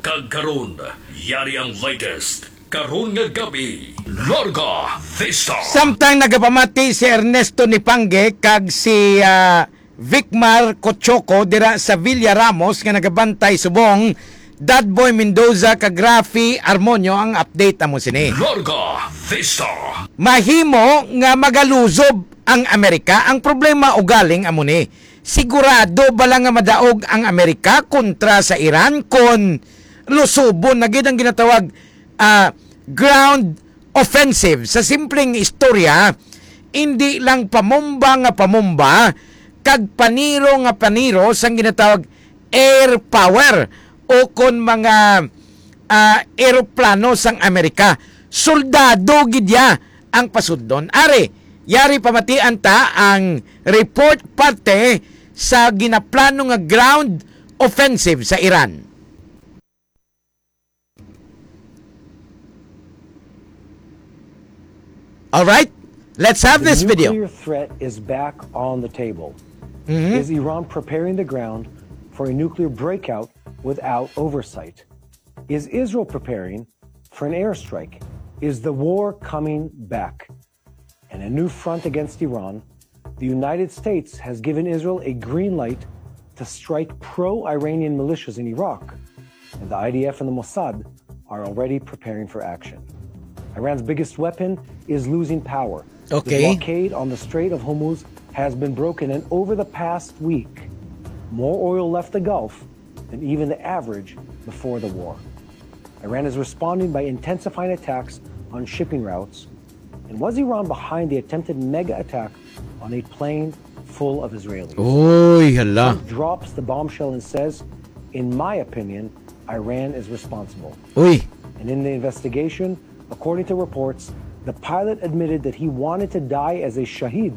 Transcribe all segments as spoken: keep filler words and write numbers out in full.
Kag karon, yari ang latest karon nga gabi. Larga Vista. Samtang nagapamati si Ernesto Nipangge kag si, ah, Vicmar Cochoco dira sa Villa Ramos nga nagabantay subong, Dadboy Mendoza kag Rafi Armonio ang update amo sini. Larga Vista. Mahimo nga magaluzob ang Amerika. Ang problema ugaling amo ni, sigurado bala nga madaog ang Amerika kontra sa Iran kon lusubon na gid ang ginatawag, ah, ground offensive? Sa simpleng istorya, indi lang pamumba nga pamumba kag paniro nga paniro sang ginatawag air power o kon mga, ah, eroplano sang Amerika. Soldado gid ya ang pasudlon. Ari, yari pamatian ta ang report parte sa ginaplano nga ground offensive sa Iran. All right, let's have this video. The nuclear threat is back on the table. Mhm. Is Iran preparing the ground for a nuclear breakout without oversight? Is Israel preparing for an airstrike? Is the war coming back? And a new front against Iran, the United States has given Israel a green light to strike pro-Iranian militias in Iraq, and the I D F and the Mossad are already preparing for action. Iran's biggest weapon is losing power. Okay. The blockade on the Strait of Hormuz has been broken, and over the past week, more oil left the Gulf than even the average before the war. Iran is responding by intensifying attacks on shipping routes. And was Iran behind the attempted mega attack on a plane full of Israelis? Uy, hala. Trump drops the bombshell and says, "In my opinion, Iran is responsible." Uy. And in the investigation, according to reports, the pilot admitted that he wanted to die as a shahid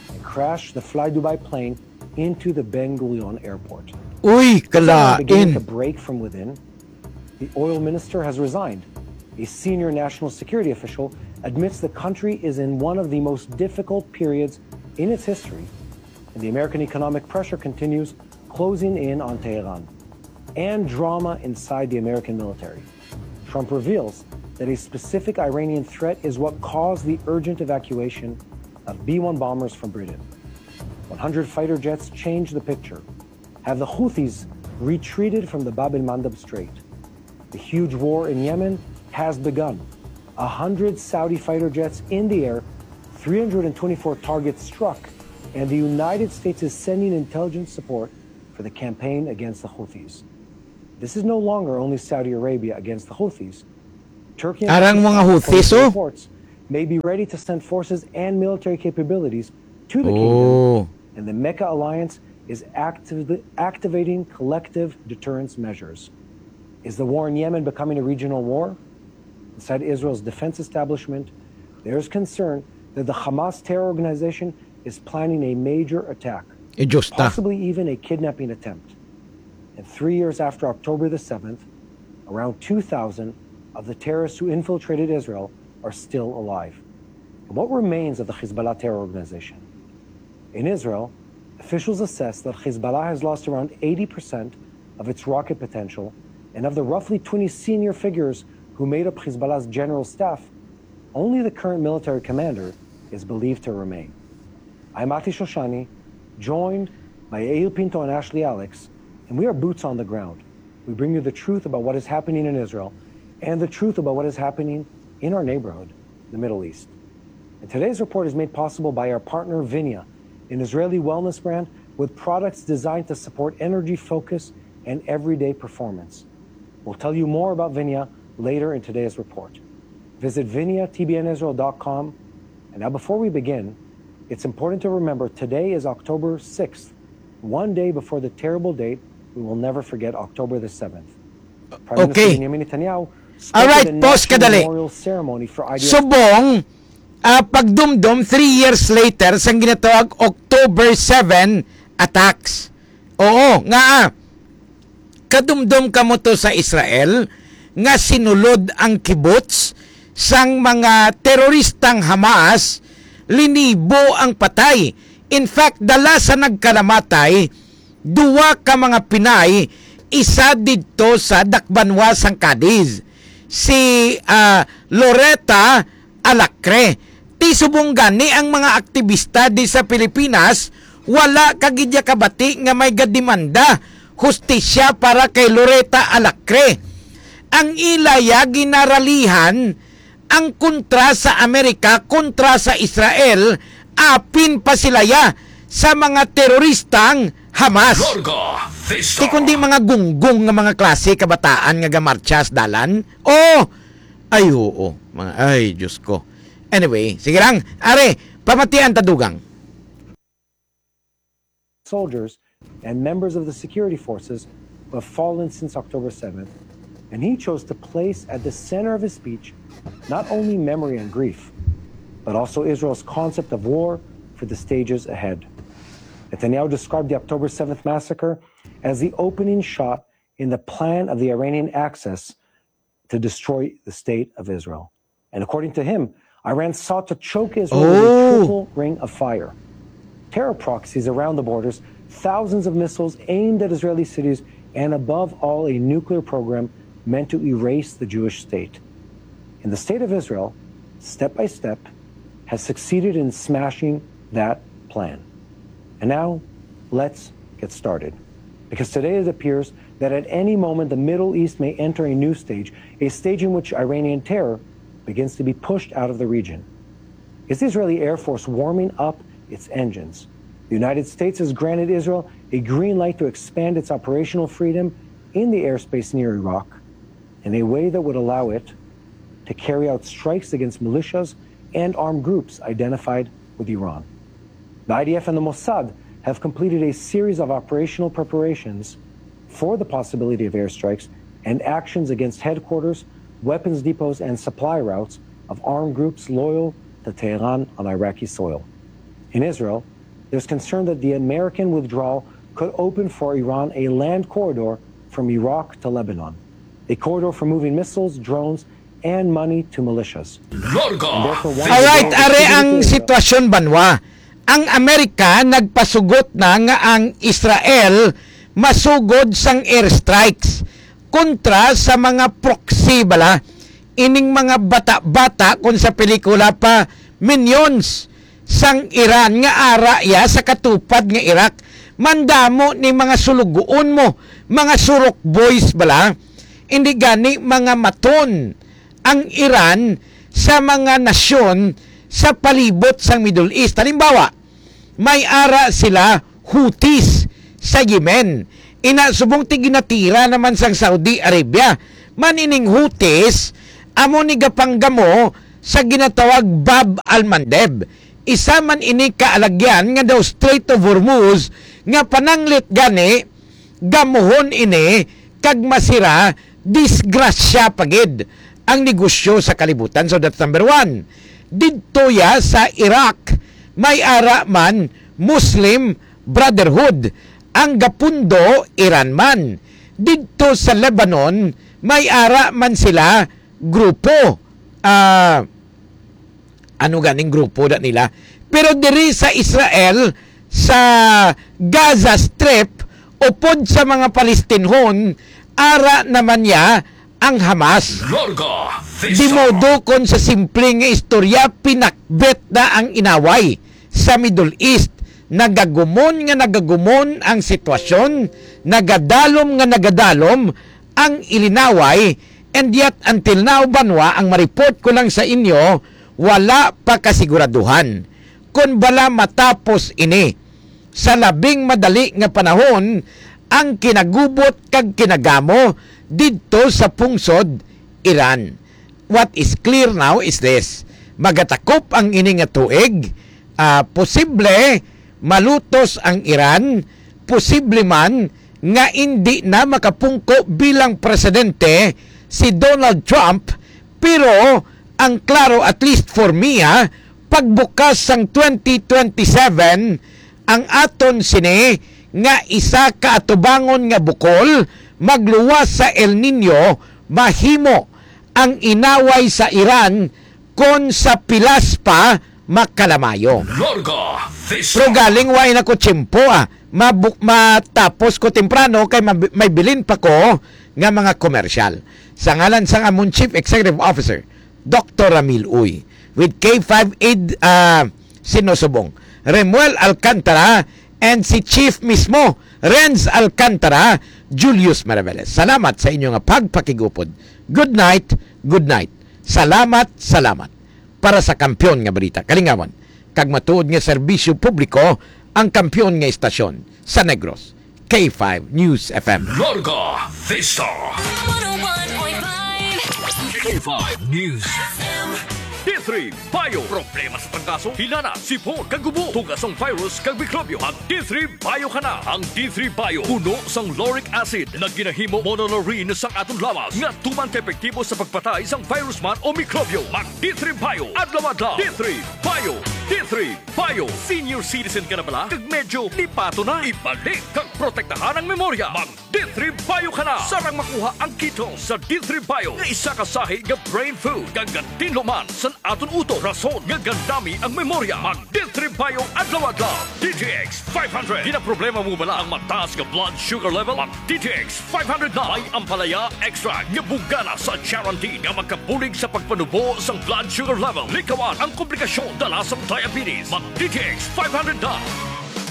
and crashed the Fly Dubai plane into the Ben Gurion airport. Uy, kalain. Beginning to break from within. The oil minister has resigned. A senior national security official admits the country is in one of the most difficult periods in its history, and the American economic pressure continues, closing in on Tehran. And drama inside the American military. Trump reveals that a specific Iranian threat is what caused the urgent evacuation of B one bombers from Britain. One hundred fighter jets changed the picture. Have the Houthis retreated from the Bab el Mandab Strait? The huge war in Yemen has begun. A hundred Saudi fighter jets in the air, three hundred and twenty-four targets struck, and the United States is sending intelligence support for the campaign against the Houthis. This is no longer only Saudi Arabia against the Houthis. Turkey and Pakistan, according to reports, may be ready to send forces and military capabilities to the kingdom, and the Mecca alliance is actively activating collective deterrence measures. Is the war in Yemen becoming a regional war? Inside Israel's defense establishment, there is concern that the Hamas terror organization is planning a major attack, possibly even a kidnapping attempt. And three years after October the seventh, around two thousand of the terrorists who infiltrated Israel are still alive. And what remains of the Hezbollah terror organization? In Israel, officials assess that Hezbollah has lost around eighty percent of its rocket potential, and of the roughly twenty senior figures who made up Hezbollah's general staff, only the current military commander is believed to remain. I'm Ati Shoshani, joined by Yair Pinto and Ashley Alex, and we are boots on the ground. We bring you the truth about what is happening in Israel and the truth about what is happening in our neighborhood, the Middle East. And today's report is made possible by our partner, Vinia, an Israeli wellness brand with products designed to support energy, focus, and everyday performance. We'll tell you more about Vinia later in today's report. Visit vinia t b n israel dot com. And now, before we begin, it's important to remember today is October sixth, one day before the terrible date we will never forget, October the seventh. Prime Minister Okay. Benjamin Netanyahu spoke at Alright, the pause ka National dali. Memorial Ceremony for I D F. Subong, ah, pagdumdom, three years later, sang ginatawag October seven attacks. Oo, nga, ah, kadumdom kamo to sa Israel nga sinulod ang kibbutz sang mga teroristang Hamas, linibo ang patay. In fact, dala sa nagkalamatay, duwa ka mga Pinay isa didto sa dakbanwa sang Cadiz, si, ah, Loretta Alacre. Ti subong gani ang mga aktibista di sa Pilipinas, wala ka gid ya kabati nga may gademanda hustisya para kay Loretta Alacre. Ang ila ya ginaralihan ang kontra sa Amerika, kontra sa Israel, apin pa sila ya sa mga teroristang Hamas. Larga Vista. Ti kundi mga gunggong nga mga klase kabataan nga gamartsa sa dalan? Oh, ay oo. Mga, ay, Diyos ko. Anyway, sige lang. Are, pamatian ta dugang. Soldiers and members of the security forces who have fallen since October seventh, and he chose to place at the center of his speech not only memory and grief, but also Israel's concept of war for the stages ahead. Netanyahu described the October seventh massacre as the opening shot in the plan of the Iranian Axis to destroy the state of Israel. And according to him, Iran sought to choke Israel with a Oh. triple ring of fire. Terror proxies around the borders, thousands of missiles aimed at Israeli cities, and above all, a nuclear program meant to erase the Jewish state. And the state of Israel, step by step, has succeeded in smashing that plan. And now, let's get started. Because today it appears that at any moment the Middle East may enter a new stage, a stage in which Iranian terror begins to be pushed out of the region. Is the Israeli Air Force warming up its engines? The United States has granted Israel a green light to expand its operational freedom in the airspace near Iraq in a way that would allow it to carry out strikes against militias and armed groups identified with Iran. The I D F and the Mossad have completed a series of operational preparations for the possibility of airstrikes and actions against headquarters, weapons depots, and supply routes of armed groups loyal to Tehran on Iraqi soil. In Israel, there's concern that the American withdrawal could open for Iran a land corridor from Iraq to Lebanon, a corridor for moving missiles, drones, and money to militias. Larga. And therefore, one Alright, of the are ang biggest sitwasyon banwa. Ang Amerika nagpasugot na nga ang Israel masugod sang airstrikes kontra sa mga proxy bala, ining mga bata-bata kon sa pelikula pa, minions sang Iran nga ara ya sa katupad nga Iraq. Mandamo ni mga sulugoon mo, mga surok boys bala, hindi gani mga maton ang Iran sa mga nasyon sa palibot sang Middle East. Halimbawa, may ara sila Houthis sa Yemen. Ina subong ti ginatira naman sang Saudi Arabia. Man ining Houthis, amo ni gapanggamo sa ginatawag Bab al-Mandeb. Isa man ini ka alagyan nga daw Strait of Hormuz nga pananglit gani gamuhon ini kag masira, disgrasya pa gid ang negosyo sa kalibutan. So that's number one. Didto ya sa Iraq, may ara man Muslim Brotherhood, ang gapundo Iran man. Didto sa Lebanon, may ara man sila grupo, ah, ano ganing grupo na nila. Pero diri sa Israel, sa Gaza Strip, upod sa mga Palestinhon, ara naman niya ang Hamas. Larga Vista. Dimodo kon sa simple nga istorya, pinakbet na ang inaway sa Middle East. Nagagumon nga nagagumon ang sitwasyon, nagadalom nga nagadalom ang ilinaway, and yet until now, banwa, ang ma-report ko lang sa inyo, wala pa kasiguraduhan kon bala matapos ini sa labing madali nga panahon ang kinagubot kag kinagamo didto sa pungsod Iran. What is clear now is this. Magatakop ang ini nga tuig. Ah, posible malutos ang Iran. Posible man nga indi na makapungko bilang presidente si Donald Trump, pero ang klaro, at least for me, ha, pagbukas sang twenty twenty-seven, ang aton sini nga isa ka atubangon nga bukol, magluwas sa El Niño, mahimo ang inaway sa Iran kon sa pilas pa makalamayo. Larga Vista. Pero galing wa na ko tiyempo, ah. Mabu-, matapos ko temprano kay mab-, may bilin pa ko nga mga komersyal. Sa ngalan sang amon Chief Executive Officer, Doktor Ramil Uy, with K five Aid, ah, sinusubong, Remuel Alcantara, and si Chief mismo, Renz Alcantara, Julius Maraveles. Salamat sa inyo nga pagpakigupod. Good night, good night. Salamat, salamat. Para sa kampiyon nga balita, kalingawan, kag matuod nga serbisyo publiko, ang kampiyon nga istasyon sa Negros, K five News F M. Larga Vista. One oh one point five K five News F M. D three Bio. Problema sa trangkaso, hilana, sipon, kag ubo, tugas ang virus kag mikrobyo. Mag D three Bio ka na. Ang D three Bio puno sang lauric acid na ginahimo monolaurin sang aton lawas nga tuman ka epektibo sa pagpatay sang virus man o mikrobyo. Mag D three Bio adlaw-adlaw. D three Bio. D three Bio. Senior citizen ka na bala? Kag medyo lipato na? Ibalik kag protektahan ang memorya. Mag D three Bio ka na. Sarang makuha ang ketone sa D three Bio nga isa ka sahi nga brain food kag gatinlo man sa aton utok, rason nga gandami ang memorya. Mag D three Bio adlaw-adlaw. D T X five hundred. Ginaproblema mo bala ang mataas nga blood sugar level? Mag D T X five hundred na. May ampalaya extract nga bungana sa charantin nga makabulig sa pagpanubo sang blood sugar level. Likawan ang komplikasyon dala sang diabetes. Mag D T X five hundred na.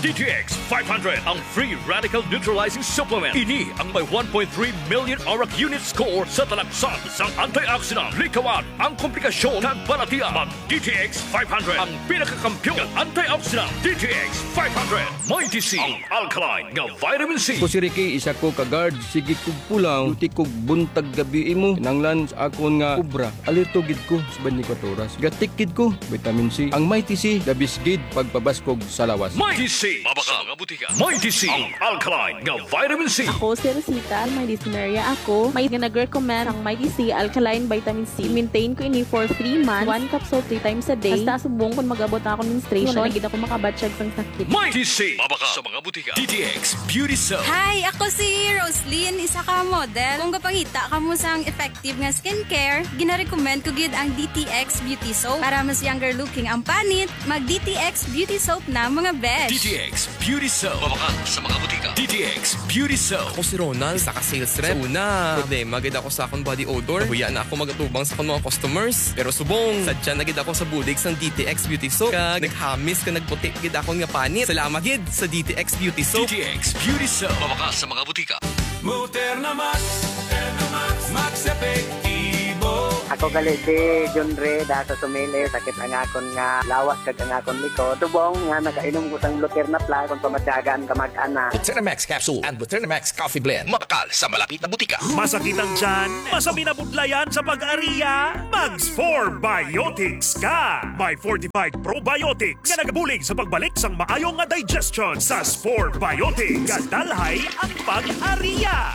D T X five hundred, ang free radical neutralizing supplement. Ini ang may one point three million ORAC unit score sa talaksan sang antioxidant. Likawan ang komplikasyon kag balatian. Mag D T X five hundred, ang pinakakampiyon nga antioxidant. D T X five hundred, Mighty C, ang alkaline nga vitamin C. Ako si Ricky, isa ko ka guard. Sige kog pulaw, duty kog buntag gabi imo. Kinahanglan sa akon nga obra, alerto gid ko sa twenty-four oras. Gatik gid ko, vitamin C. Ang Mighty C, the best gid pagpabaskog sa lawas. Mighty C, mabakal sa mga butika. Mighty C, ang alkaline nga vitamin C. Ako si Rosita, may dysmenorrhea ako. May nga nag-recommend ang Mighty C alkaline vitamin C. Maintain ko ini for three months. One capsule three times a day. Hasta subong kung mag-abot na akong menstruation, wala na gid ako makabatyag sang sakit. Mighty C, mabakal sa mga butika. D T X Beauty Soap. Hi, ako si Roslyn, isa ka model. Kung gapangita kamo sang effective nga skincare, ginarecommend ko gid ang D T X Beauty Soap. Para mas younger looking ang panit, mag D T X Beauty Soap na, mga besh. D T X Beauty Soap. Mabakal sa mga butika. D T X Beauty Soap. Ako si Ronald, isa ka sales rep. Sa una, problema gid ako sa akong body odor. Nahuya na ako magatubang sa akong mga customers. Pero subong, sadya na gid ako sa bulig sang D T X Beauty Soap. Kag naghamis kag nagputi gid akon nga panit. Salamat gid sa D T X Beauty Soap. D T X Beauty Soap. Mabakal sa mga butika. Moderna Max, Moderna Max, Max Epektibo. Ako gali si John Ray, da sa Sumili, sakit ang akon nga lawas kag ang akon likod. Subong nga nakainom ko sang Luterna Plus, kung pamatyagan, kamag-anak. Luterna Max Capsule and Luterna Max Coffee Blend. Mabakal sa malapit na butika. Masakit ang tiyan? Masabi na budlayan sa pag-ariya? Mag Spore Biotics ka! May fortified probiotics nga nagabulig sa pagbalik sang maayo nga digestion. Sa Spore Biotics, gadalhay ang pag-ariya.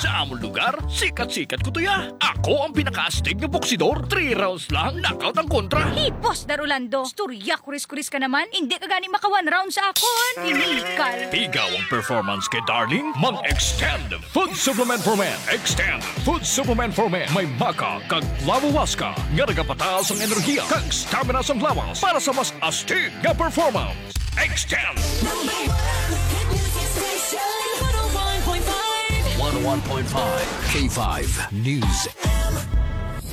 Sa amon lugar, sikat-sikat ko to ya. Ako ang pinakaastig nga boksidor. Three rounds lang, knockout ang kontra. Hipos, Dar Orlando. Istorya, kuris-kuris ka naman. Hindi ka gani maka one round sa akon. Inikal. Pigaw ang performance kay Darling. Mag-extend Food Supplement for Men. Extend Food Supplement for Men. May maca kag flavowaska nga nagapataas ang enerhiya kag stamina sang lawas para sa mas astig nga performance. Extend. Number one hit music station, one oh one point five. One oh one point five K five News.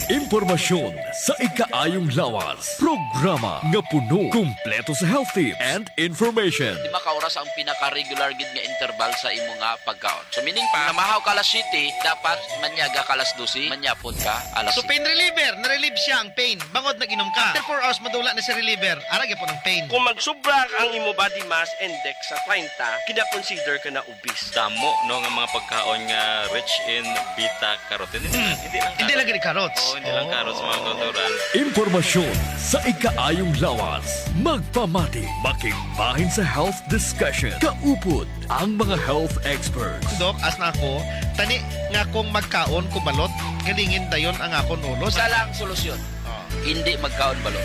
Impormasyon sa ikaayong lawas. Programa nga puno, kumpleto sa health tips and information. Lima ka oras ang pinaka-regular gid nga interval sa imo nga pagkaon. So, meaning pa, namahaw ka alas siyete, dapat manyaga ka alas dose, manyapon ka alas So, siyete. Pain reliever, na-relieve siya ang pain. Bangod nag-inom ka. After four hours, madula na si reliever. Ara gyapon ang pain. Kung magsubra ang imo body mass index sa treinta, kina-consider ka na obese. Damo, no, nga mga pagkaon nga rich in beta carotene. Hindi lang Hindi lang carrots. Gani carrots. Oo, hindi lang carrots, mga kautoran. Impormasyon sa ikaayong lawas. Magpamati, makigbahin sa health discussion. Kaupod ang mga health experts. Doc, as na ako, tani nga kung magkaon ko balot, galingin dayon ang akon ulo. Isa lang solusyon. Oh. Hindi magkaon balot.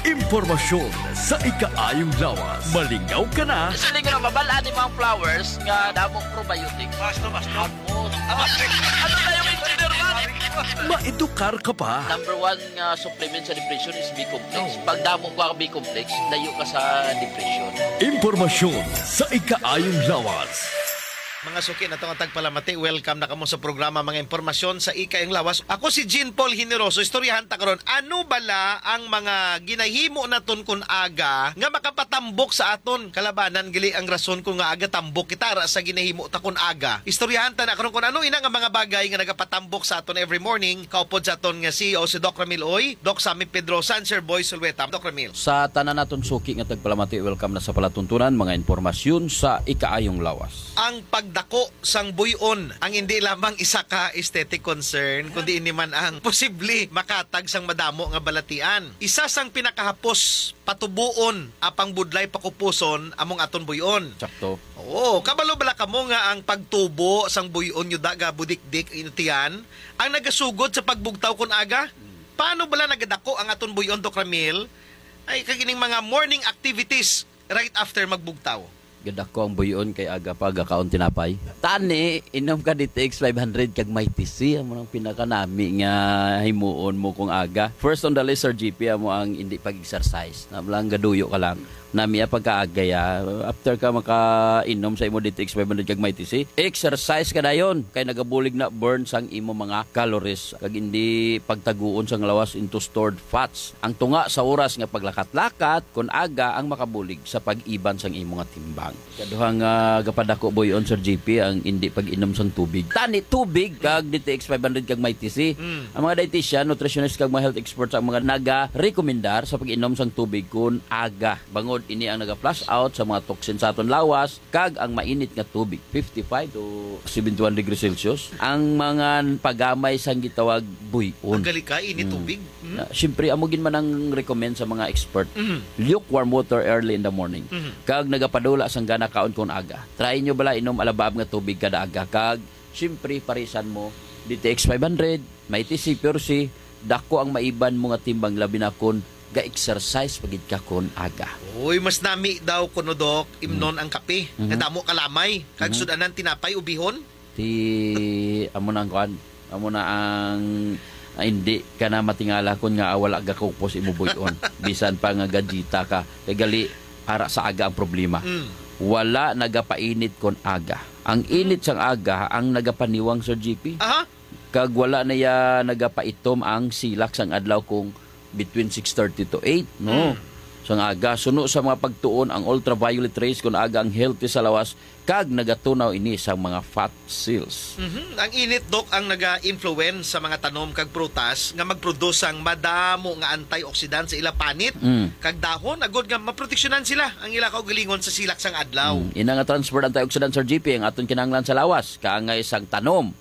Impormasyon sa ikaayong lawas. Malingaw ka na. Siling nga mabal-an ni mga flowers nga damong probiotics. Basta, basta. Ako. Ano na yung engineer man? Maedukar ka pa. Number one nga supplement sa depression is B-complex. Oh. Pag damo ka B-complex, layo ka sa depression. Impormasyon sa ikaayong lawas. Mga suki naton nga tagpalamati, welcome na kamo sa programa Mga Impormasyon sa Ikaayong Lawas. Ako si Jean Paul Generoso. Istoryahan ta karon, ano bala ang mga ginahimo naton kun aga nga makapatambok sa aton kalabanan? Gali ang rason kun ngaa gatambok kita ara sa ginahimo ta kun aga. Istoryahan ta na karon kun ano ina nga mga bagay nga nagapatambok sa aton every morning. Kaupod sa aton nga C E O si Doc Ramil Uy, Doc Sammy Pedrosa, and Sir Boy Sulweta. Doc Ramil. Sa tanan naton suki nga tagpalamati, welcome na sa palatuntunan, mga impormasyon sa ikaayong lawas. Ang pagdako sang buy-on ang hindi lamang isa ka aesthetic concern, kundi ini man ang posible makatag sang madamo nga balatian. Isa sang pinakahapos patubuon apang budlay pakupuson among aton buy-on. Sakto. Oo, kabalo bala kamo nga ang pagtubo sang buy-on nyo da gabudikdik ang tiyan ang nagasugod sa pagbugtaw kun aga? Paano bala nagadako ang aton buy-on, Doc Ramil? Ay, kag ining mga morning activities right after magbugtaw. Gadako ang buy-on kay aga pa gakaon tinapay. Tani, inom ka D T X five hundred kag Mighty C, amo nang pinakanami nga himuon mo kung aga. First on the list, Sir G P, amo ang hindi pag-exercise. Na lang gaduyo ka lang. Nami ang pagkaagay, ah. After ka makainom sa imo D T X five hundred kag Mighty C, exercise ka dayon kay nagabulig na burn sang imo mga calories kag hindi pagtaguon sang lawas into stored fats. Ang tunga sa oras nga paglakat-lakat kun aga ang makabulig sa pag-iban sang imo nga timbang. Kaduha nga gapadako buy-on, Sir G P, ang hindi pag-inom sang tubig. Tani tubig kag D T X five hundred kag Mighty C. Mm. Ang mga dietitian, nutritionist kag mga health experts ang mga nagarekomendar sa pag-inom sang tubig kun aga. Bangod ini ang naga-flush out sa mga toxin sa aton lawas kag ang mainit nga tubig, fifty-five to seventy-one degrees Celsius, ang mga pagamay sang gitawag buy-on. Ang galikay, init Mm. tubig. Mhm. Na, siyempre, amo gid man ang recommend sa mga expert. Mhm. Lukewarm water early in the morning. Mhm. Kag nagapadula sang gana kaon kun aga. Try nyo bala inom alabaab nga tubig kada aga. Kag, siyempre, parisan mo, D T X five hundred, Mighty C, Pure C, dako ang maiban mo nga timbang, labi na kun ga-exercise pa gid ka kun aga. Uy, mas nami daw kuno, Doc, imnon Mhm. ang kape. Mhm. Nga damo kalamay. Kag Mhm. sud-anan tinapay, ubihon. Ti, amo na ang kuan. Amo na ang, ah, hindi ka na matingala kun nga wala gakupos imo buy-on. Bisan pa nga gajita ka. Kay gali, ara sa aga ang problema. Mm. Wala nagapainit kon aga. Ang Mm. init sang aga ang nagapaniwang, Sir G P. Aha. Kag wala na ya nagapaitom ang silak sang adlaw kung between six thirty to eight, no? Mm. Sang aga. Suno sa mga pagtuon, ang ultraviolet rays kun aga ang healthy sa lawas, kag nagatunaw ini sang mga fat cells. Mhm. Ang init, Doc, ang naga-influence sa mga tanom kag prutas nga mag-produce sang madamo nga antioxidant sa ila panit Mm. kag dahon, agod nga maproteksyonan sila ang ila kaugalingon sa silak sang adlaw. Mm. Ina nga transferred antioxidant, Sir G P, ang aton kinahanglan sa lawas, kaangay sang tanom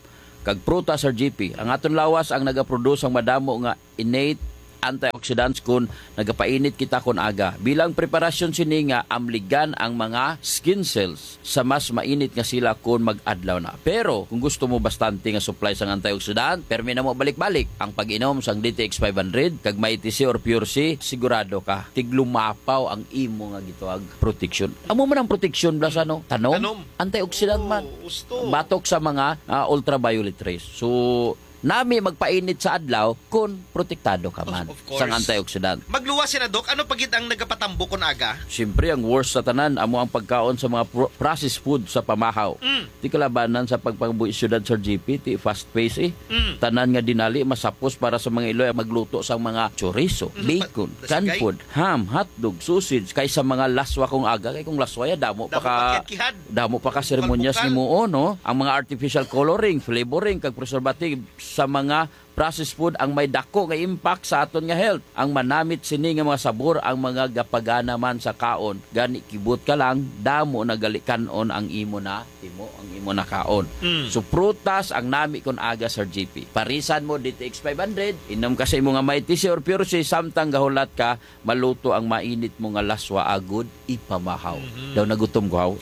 kag prutas, Sir G P. Ang aton lawas ang nagaproduce sang madamo nga innate antioxidants kun nagapainit kita kun aga. Bilang preparasyon sini nga amligan ang mga skin cells sa mas mainit nga sila kun mag-adlaw na. Pero kung gusto mo bastante nga supply sang antioxidant, permi na mo balik-balik ang pag-inom sang D T X five hundred kag Mighty C or Pure C, sigurado ka tiglumapaw ang imo nga gitawag proteksyon. Amo man ang proteksyon bala sa, ano, tanom. Tanom. Antioxidant man. Oo, gusto. Batok sa mga, ah, ultraviolet rays. So, nami magpainit sa adlaw kun protektado ka man Of, of course. sang antioxidant. Magluwas sina, Doc. Ano pa gid ang nagapatambok kun aga? Siyempre, ang worst sa tanan amo ang pagkaon sa mga pro-, processed food sa pamahaw. Mm. Ti kalabanan sa pagpangabuhi siyudad, Sir G P, ti fast pace, eh. Mm. Tanan nga dinali masapos para sa mga iloy ang magluto sang mga chorizo, Mm, bacon, pa-, canned sige. food, ham, hotdog, sausage, kaysa mga laswa kung aga. Kay kung laswa ya, damo pa Damo ka, pa kiyad-kihad. damo pa ka seremonyas Bukal-bukal. ni muo, no? Ang mga artificial coloring, flavoring, kag preservative sa mga processed food ang may dako nga impact sa aton nga health. Ang manamit sini nga mga sabor ang mga gapagana man sa kaon, gani kibot ka lang, damo na gali kan-on ang imo na timo, ang imo na kaon. Mm. So, prutas ang nami kon aga, Sir G P. Parisan mo D T X five hundred, inom ka sa imo nga Mighty C or Pure C, samtang gahulat ka, maluto ang mainit mo nga laswa agud ipamahaw. Mhm. Daw nagutom ko, haw.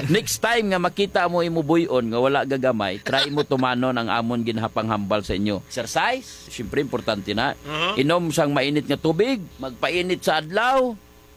Next time nga makita mo imo buy-on nga wala gagamay, try mo tumanon ang amon ginhapanghambal sa inyo. Exercise, siyempre importante na. Mhm. Inom sang mainit nga tubig, magpainit sa adlaw,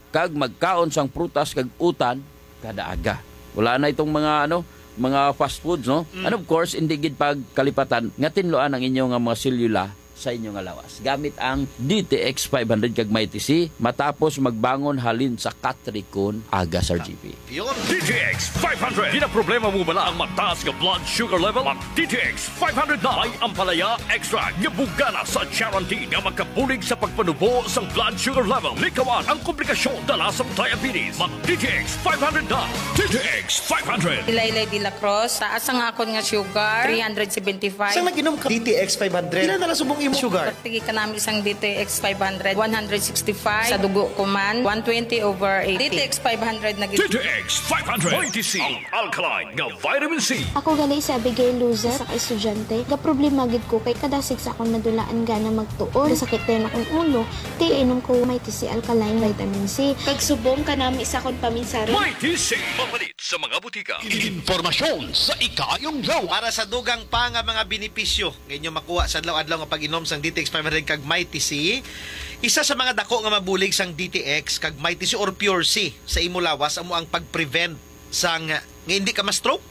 kag magkaon sang prutas kag utan kada aga. Wala na itong mga, ano, mga fast foods, no? Mm. And of course, hindi gid pagkalipatan nga tinluan ang inyo nga mga selula sa inyo nga lawas gamit ang D T X five hundred kag Mighty C matapos magbangon halin sa katrikon aga, Sir G P. Yun. D T X five hundred. Ginaproblema mo bala ang mataas nga blood sugar level? Mag D T X five hundred na. May ampalaya extract nga bugana sa charantin nga makabulig sa pagpanubo sang blood sugar level. Likawan ang komplikasyon dala sang diabetes. Mag D T X five hundred na. D T X five hundred. Ilaylay de la Cruz, taas ang akon nga sugar, three hundred seventy-five. Sang nag-inom ka D T X five hundred? Pila na lang subong imo sugar? Pertigi ka namin sang D T X five hundred, one hundred sixty-five. Sa dugo ko man, one twenty over eighty. D T X five hundred na gid. D T X five hundred. Mighty C, ang alkaline nga vitamin C. Ako gali si Abigail Luzes, sa ka-estudyante. Gaproblema gid ko kay kadasig sa akong madulaan gana magtuon. Sakit dayon akong ulo, kay inom ko Mighty C alkaline vitamin C. Kag subong kanami sa akong paminsaron. Mighty C. Mapalit sa mga butika. Impormasyon sa ikaayong law. Para sa dugang pa nga mga benepisyo nga inyo makuha sa adlaw-adlaw nga pag-inom sang D T X five hundred kag Mighty C, isa sa mga dako nga mabulig sang D T X kag Mighty C or Pure C sa imo lawas amo ang pag-prevent sang nga hindi ka ma-stroke.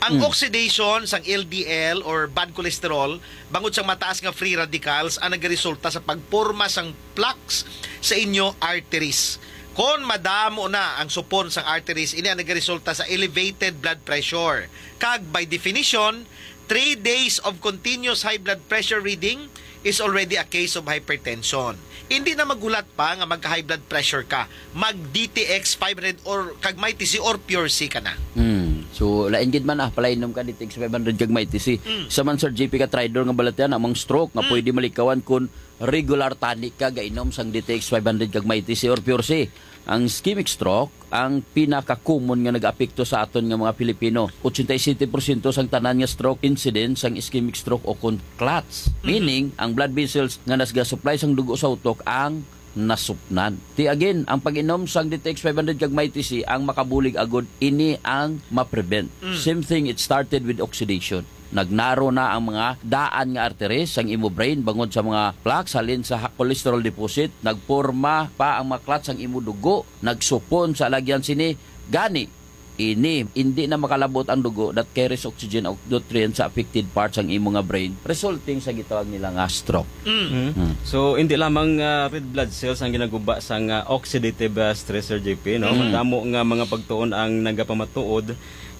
Ang Mm. oxidation sang L D L or bad cholesterol bangod sang mataas nga free radicals ang nagaresulta sa pagporma sang plaques sa inyo arteries. Kon madamo na ang supon sang arteries, ini ang nagaresulta sa elevated blood pressure. Kag by definition, three days of continuous high blood pressure reading is already a case of hypertension. Hindi na maghulat pa nga magka-high blood pressure ka. Mag D T X five hundred or kag Mighty C or Pure C ka na. Hmm. So, lain gid man, ah, palainom ka D T X five hundred kag Mighty C. Mm. Sa man, Sir G P, ka tridor nga balatian, among stroke nga Mm. pwede malikawan kun regular tani ka gainom sang D T X five hundred kag Mighty C or Pure C. Ang ischemic stroke, ang pinaka-common nga nag-apekto sa aton nga mga Pilipino. Ochenta y siete porsyento sang tanan nga stroke incidence sang ischemic stroke o kon clots. Mhm. Meaning, ang blood vessels nga nasga-supply sang dugo sa utok ang nasupnan. Ti again, ang pag-inom sang D T X five hundred kag Mighty C ang makabulig agud ini ang ma-prevent. Mm. Same thing, it started with oxidation. Nagnaro na ang mga daan nga arteries sang imo brain bangod sa mga plaques halin sa ha-, cholesterol deposit. Nagporma pa ang mga clots sang imo dugo. Nagsupon sa alagyan sini. Gani, ini hindi na makalabot ang dugo that carries oxygen o nutrients sa affected parts sang imo nga brain, resulting sa gitawag nila nga stroke. Mm. Mm. Mm. So, hindi lamang, ah, red blood cells ang ginaguba sa nga oxidative, ah, stress, Sir J P, no? Mm. Madamo nga mga pagtuon ang nagapamatuod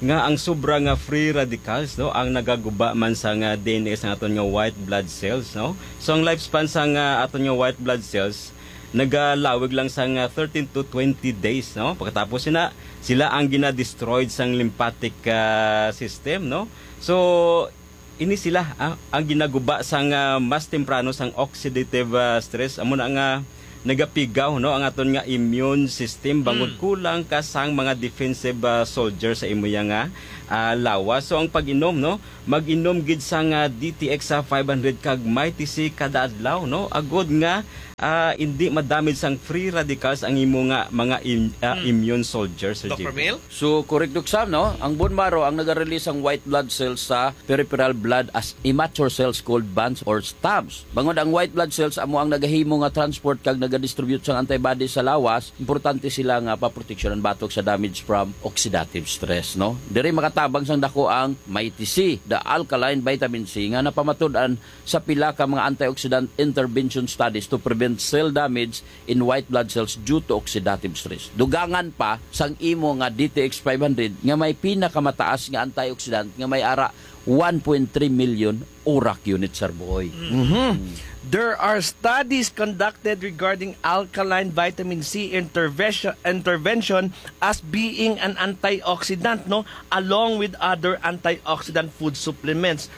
nga ang sobra nga free radicals, no, ang nagaguba man sa nga D N A sa aton nga white blood cells, no? So, ang lifespan sa nga aton nga white blood cells nagalawig lang sa nga thirteen to twenty days, no? Pagkatapos sina, sila ang gina-destroyed sang lymphatic, ah, system, no? So, ini sila, ah, ang ginaguba sang, ah, mas temprano sang oxidative, ah, stress. Amo na nga nagapigaw, no, ang aton nga immune system bangod Mm. kulang ka sang mga defensive, ah, soldier sa imo ya nga, ah, lawas. So, ang pag-inom, no, mag-inom gid sang, ah, D T X sa five hundred kag Mighty C kada adlaw, no, agud nga, ah, hindi madamage sang free radicals ang imo nga mga im-, ah, Mm. immune soldier, Sir Doctor J P. Mil? So, correct, Doc Sam, no? Ang bone marrow ang naga-release sang white blood cells sa peripheral blood as immature cells called bands or stumps. Bangod ang white blood cells amo ang nagahimo nga transport kag nagadistribute sang antibodies sa lawas, importante sila nga paproteksyonan batok sa damage from oxidative stress, no? Diri makatabang sang dako ang Mighty C, the alkaline vitamin C nga napamatud-an sa pila ka mga antioxidant intervention studies to prevent cell damage in white blood cells due to oxidative stress. Dugangan pa sang imo nga D T X five hundred nga may pinakamataas nga antioxidant nga may ara one point three million urak unit, Sir Boy. Mhm. There are studies conducted regarding alkaline vitamin C intervention, intervention as being an antioxidant, no, along with other antioxidant food supplements.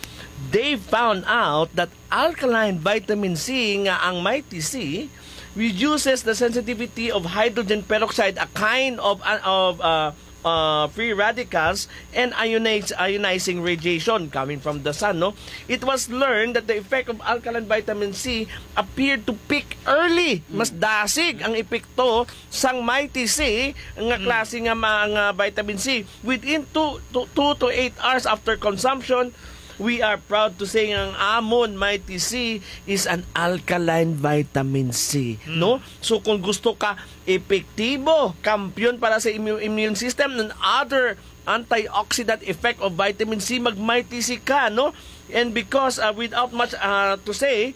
They found out that alkaline vitamin C nga ang Mighty C reduces the sensitivity of hydrogen peroxide, a kind of, of, uh, uh, free radicals, and ionize, ionizing radiation coming from the sun, no? It was learned that the effect of alkaline vitamin C appeared to peak early. Mas dasig ang epekto sang Mighty C nga Mm. klase nga mga vitamin C within two to, two to eight hours after consumption. We are proud to say nga ang amon Mighty C is an alkaline vitamin C, no? So kung gusto ka epektibo, kampiyon para sa immu-, immune system and other antioxidant effect of vitamin C, mag Mighty C ka, no? And because, uh, without much, uh, to say,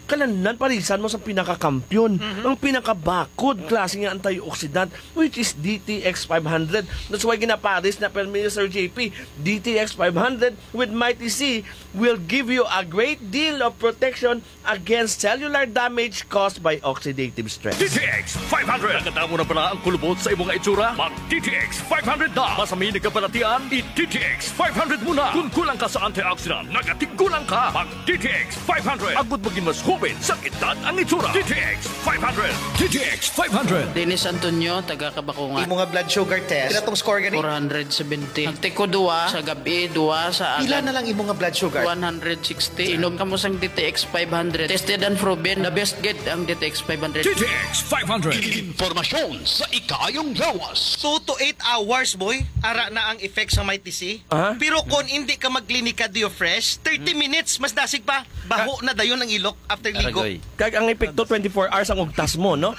kalanlan parisan mo sa pinakakampiyon, ang pinakabakod klase nga antioxidant, which is D T X five hundred. That's why ginapares na permi ni Sir J P, D T X five hundred with Mighty C will give you a great deal of protection against cellular damage caused by oxidative stress. D T X five hundred. Nakadamo na bala ang kulubot sa imong itsura? Mag D T X five hundred na. Masami nagkabalatian, i D T X five hundred mo na. Kung kulang ka sa antioxidant, nagatigulang ka. Mag D T X five hundred. Agud maging mas hubin sa edad ang itsura. D T X five hundred. D T X five hundred. Dennis Antonio, taga Kabakungan. Imo nga blood sugar test. Pila tong score gani? Four hundred seventy. Nagtiko duwa sa gabi, duwa sa Pila agad. Na lang imo nga blood sugar? One hundred sixty. Inom kamo sang D T X five hundred. Tested and proven. The best gid ang D T X five hundred. D T X five hundred. Impormasyon sa ikaayong lawas. Two to eight hours, boy. Ara na ang effect sa Mighty C. Aha. Pero kung hindi ka magklinika Dio Fresh, thirty minutes, mas dasig pa. Baho na dayon ang ilok after ligo. Aragoy. Kag ang epekto, twenty-four hours ang ugtas mo, no?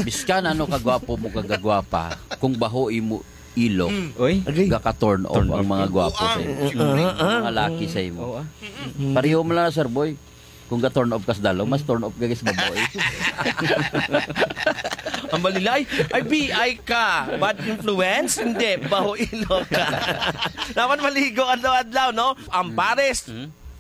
Biskan ano kagwapo mo kagagwapa, kung baho imo ilok, Oy. Agay. gaka-turn off Turn ang off. mga gwapo sa imo. Ah, ah. Mga laki sa imo. Oo, ah. Pareho mo lang na, Sir Boy. Kung ga-turn off ka sa dalaw, mas turn off ka sa babae. Ang balilay, ay B I ka. Bad influence? Hindi, baho ilok ka. Dapat maligo adlaw-adlaw, no? Ang pares.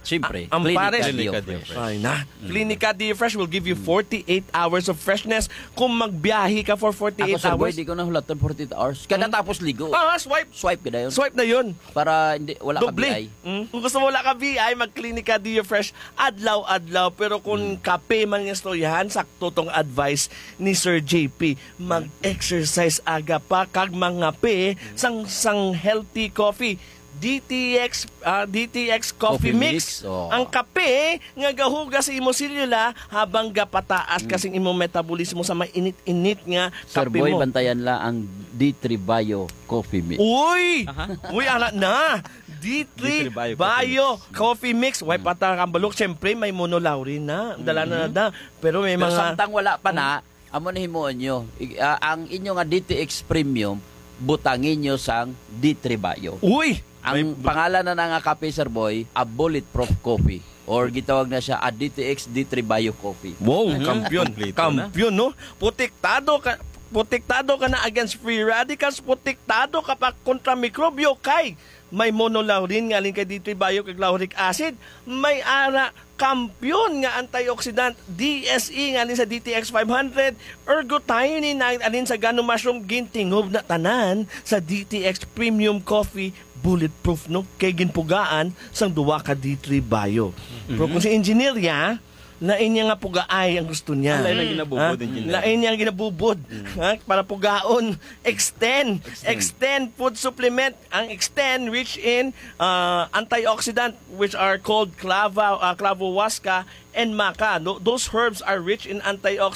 Siyempre, Ang Clinica pares. Dio Clinica Fresh. Dio Ay na. Clinica Dio Fresh will give you forty-eight hours of freshness kung magbiyahe ka for Ako, forty-eight Sir Boy, hours. di ko na hulatan forty-hours. Kada tapos ligo, Ah, swipe. swipe ka dayon. Swipe na yun. Para hindi, wala ka Doble. B I. Mm. Kung gusto mo wala ka B I, mag-Clinica Dio Fresh adlaw-adlaw. Pero kung kape man nga istoryahan, sakto tong advice ni Sir J P. Mag-exercise aga pa kag mangape sang, sang healthy coffee. D T X, ah, D T X Coffee, Coffee Mix. Mix, oh. Ang kape nga gahugas sa imo selula habang gapataas ka sing imong metabolismo sa mainit-init nga Sir kape Boy, mo. Bantayan la ang D three Bio Coffee Mix. Uy! Uy, ana na! D three D three Bio Bio Coffee Mix. Way pa ta kambalok. Siyempre, may monolaurin na. Dala na na. Pero may Pero mga... samtang wala pa na, amo na himuon nyo. I- ah, ang inyo nga D T X Premium, butangin nyo sang D three Bio. Uy! Ang pangalan na na nga kape, Sir Boy, a bulletproof coffee. Or gitawag na siya a D T X D three Bio Coffee. Wow, kampiyon. Kompleto na. Kampiyon, no? Protektado ka, protektado ka na against free radicals, protektado ka pa kontra mikrobyo kay may monolaurin nga alin kay D three Bio kag lauric acid, may ara kampiyon nga antioxidant D S E nga alin sa D T X five hundred, ergothioneine nga alin sa gano mushroom, gintingob na tanan sa D T X Premium Coffee Bulletproof, no? Kay ginpugaan sang duwa ka D three Bio. Pero kung si engineer ya, lain niya nga pugaay ang gusto niya. Ang lain ang ginabubod, Ha? engineer. Lain niya ang ginabubod. Ha? Para pugaon, extend. Extend food supplement. Ang extend rich in uh, antioxidant which are called clava, uh, clavo huasca and maca. No? Those herbs are rich in antioxidant